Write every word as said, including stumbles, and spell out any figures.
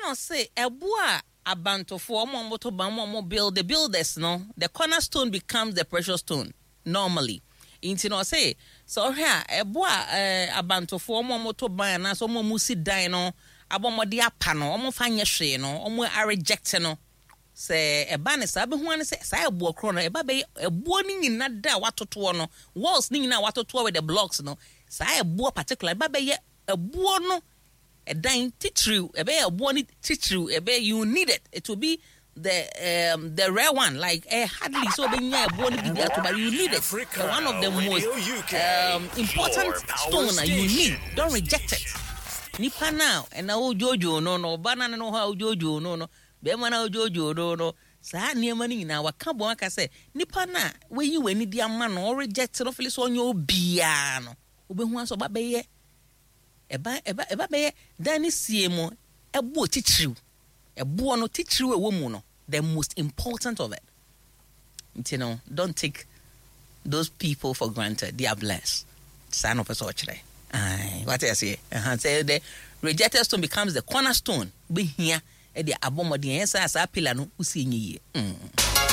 Ɛna ɔse ɛboɔ a abantofoɔ, ɔmo a ɔmo to ban, ɔmo a ɔmo build, the builders no, the cornerstone becomes the precious stone normally. Nti na ɔse sɛ ɔhwɛ a, ɛboɔ a ɛɛ abantofoɔ, ɔmo a ɔmo to ban anaasɛ ɔmo a ɔmo si dan no abɔ ɔmo apa no, ɔmo fa nyɛ hwee no, ɔmo areject no, sɛ ɛba ne saa, bɛhu ane sɛ saa ɛboɔ korɔ no ɛba bɛyɛ ɛboɔ no nyina da a watotoɔ no, walls no nyinaa a watotoɔ with the blocks no, saa ɛboɔ particular ɛba bɛyɛ ɛboɔ no ɛdan titiriw, ɛbɛyɛ ɛboɔ no titiriw. Ɛbɛyɛ, you need it, it will be the um, the rare one, like eh, hardly so ɔbɛnya ɛboɔ no bi de ato, but you need it. Africa The one of the most Radio U K, um, important your power stone a you need. station. Don't reject it. Nipa na ɛna wodwoodwoo no no ɔba na ne no hɔ a wodwoodwoo no no bɛrima na wodwoodwoo no no saa nneɛma no nyinaa waka bɔn aka sɛ nipa na wayi w'ani di ama no, ɔreject no, feel sɛ ɔnyɛ obiara no, wobɛhu asɛ ɔba bɛyɛ ɛba ɛba ɛba bɛyɛ dan ne sie mu ɛboɔ titiriw, ɛboɔ no titiriw a ɛwɔ mu no, the most important of it. Nti no, don't take those people for granted. They are blessed. Saa na ɔpɛ sɛ ɔkyerɛ. Ae, wate aseɛ? Ɛha sɛ the rejected stone becomes the cornerstone, wobɛhia ɛde abɔ mmɔden ɛyɛ saa saa pillar no wosie nyɛ yie mm.